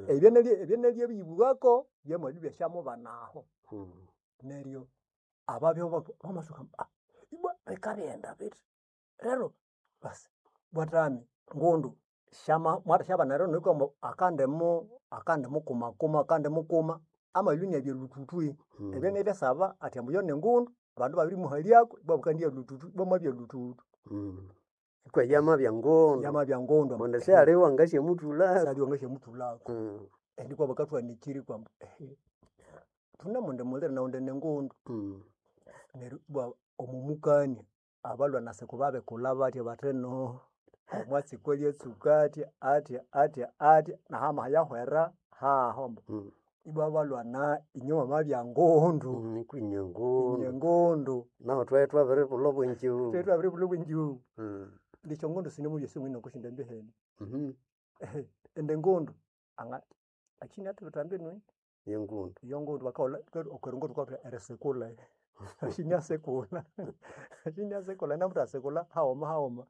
Ebyo nabiyibwako byamabya ibyashamubanaho. Neryo ababya bamasuka ibwa bikabighenda bithi. Rero basi bwatami ngundu syama mwathasyabana erino akandimu akandimukumakuma akandimukuma amabya inabya lhuthũthũ. Ebyo nibyasaba athi ambu iyo ningundu abandu ibabirimuhalyako ibwa bukandiya lhuthũthũ ibwa mwabya lhuthũthũ. Kwe yamabya ngundu. Yamabya ngundu. Kundi sihali owangasyamuthulako. Sihali owangasyamuthulako. Neryo bakathuhanikirya ambu thunemundi muliro nawu indi ningundu. Neryo ibwa omo mukania abalhwa nesiko babikulha bathya bathi ino omwatsi kweli atsuka athya athya athya athya nahamaha yahwera haho. Ibwa balhwana inywe mwamabya ngundu. Kwinye ngundu. Inye ngundu. Nahu thwabya ithwabiribulha obwengyughu. Thwabya ithwabiribulha obwengyughu. Indi esyongundu sinemubuya oko syondambi henu. Indi engundu anga akinathibitha inu Yengundu. Eyongundu bakaghulha okwa runguu thukathwita erisikula. Asyanyasikulha asyanyasikulha namuthasikula haghuma haghuma.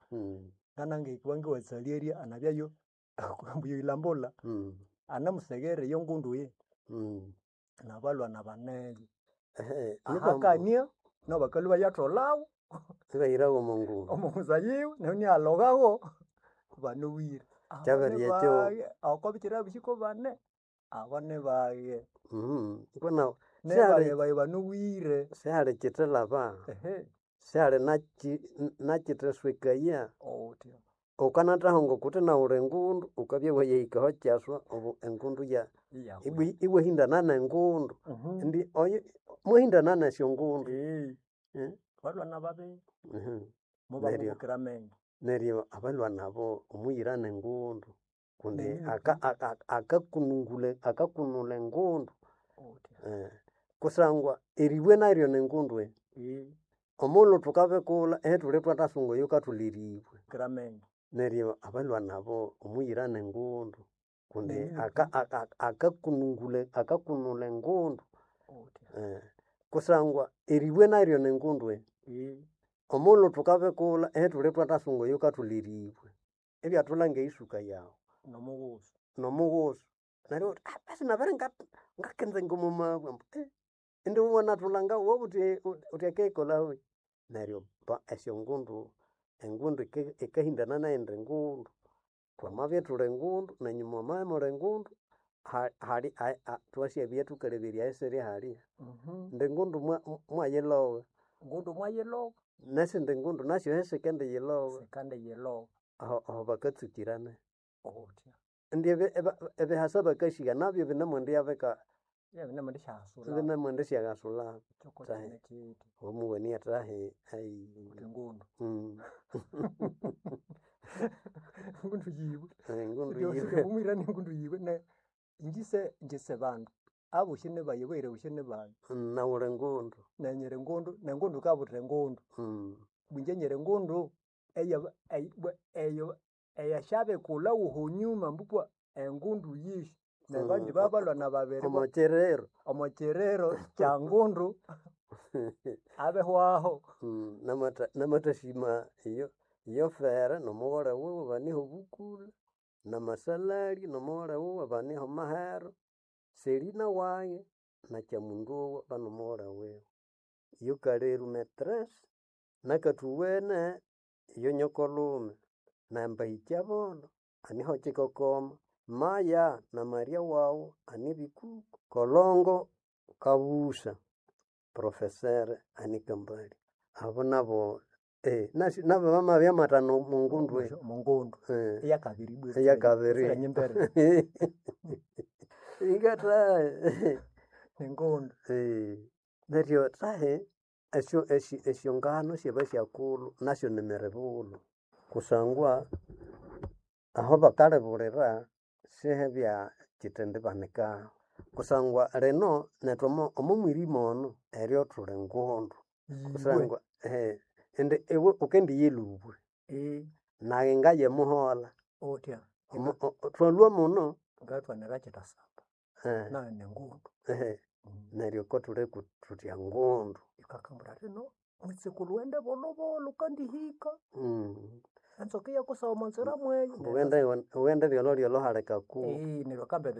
Nganangehika ngawatsalerya anabyayo ambu yoyilhambula. Anamuseghera eyongundu eyi. Nabalhwana baneyo. Ahakania nabu bakalhwa ibayatholawo Ibahirawo omo ngundu. omo ngunza yiwe neryo inayalhoghawo ibanowire. Kyabirya ekyo. Abo nibaghe okobikyira byosi kobane, abo nibaghe. Iko nahu Nibaghe bayi banowire. Sihali kithalaba. Sihali nakithaswekaya. Outi. Wukanathahunga wukuthi nawu wuli ngundu wukabya wayahika ahakyaswa obo engundu ya iwahindana nengundu. Indi oyo mwahindana nesyongundu. Balhwana babiri mubamubukira amenge. Neryo abalhwana abo omuyira ningundu kundi akakunula engundu kusangwa eribwe naryo ningundu. Omughulhu thukabikulha ithuli thwathasunga oyukathulha eribwe. Neryo abalhwana abo omuyira ningundu kundi akakunula engundu kusangwa eribwe naryo ningundu. Omughulhu thukabikulha ithuli thwathasunga oyukathulha eribwe. Ibyathulha ngeyisuka yawu. Nomughusu. Nomughusu. Neryo iwabugha wuthi basi nabere ngakinzenga omo mabwe ambu indi wanathulha wabugha wuthi akiyikolhawe. Neryo esyongundu, engundu yikahindana neyindi ngundu. Thwamabya ithuli ngundu nenyu mwamabya imuli ngundu hali thwasyabya thukaleberya ahasiri halya. Indi engundu mwayilogha. Ngundu mwayilogha. Nesindi ngundu nasyu sikendiyiloba. Sikandiyiloba. Aho ahobakatsukirana. Outi. Indi ebihasa bakahigha nabyo binemwendisyabika Ibyabinemwendisyahasulha. binemwendisyahasulha. Kyoko kyine kyithi. Omugheni athahi ayi. Wuthi ngundu. Ngundu yiwe. Engundu yiwe. Omwira ningundu yiwe ne ingye ingye bandu abosi nibayi abaghira bosi nibayi. Nawu wuli ngundu. Nayi nyiri ngundu nengundu yikabutha engundu. Ingye nyiri ngundu eyo eyasyabikulha wohonyuma ambukwa engundu yihi. Nabandi babalhwana babiri Omokyiriro. Omokyiriro kyangundu abihwaho. Namathasima iyo iyofere nomughole wuwe baniho obukule, namasalali nomughole wuwe baniho mahero, Selina wayi na Kyamunduwa banomughole wiwe. Yukaleru metresse nakathuwene iyo nyokolhume na Mbahikyabolho aniho kikokoma, Maya na Maria wawu ani Bikuku, Kolongo Kabusa professeur ani Kambali. Abo nabo nabo bamabya mathanu omo ngundu. Omongundu eyakabiri ibwa Eyakabiri. nyimbere. Ingathahe. Ningundu. Neryo thahe esyo esyongano syabasyakulhu nasyo nimiribulo kusangwa aho bakalibulira sihebya kyitendibanikaho kusangwa lino nethu omo mwirima ono eryo thuli ngundu kusangwa indi iwe wukendiya elubwe nayi ngaye emuholha. Outhya. Thwalhwa muno. Ngathwanira kitasaba. Nayu ningundu. Neryo kothuli thuthi engundu. Yukakambwira athi ino mwitsukulhu waghende bolhobolho wukandihika. Entsoka iyakusagha omonzira mweyo. Wughende ryolhoryolho hali kakuru. Neryo akamba.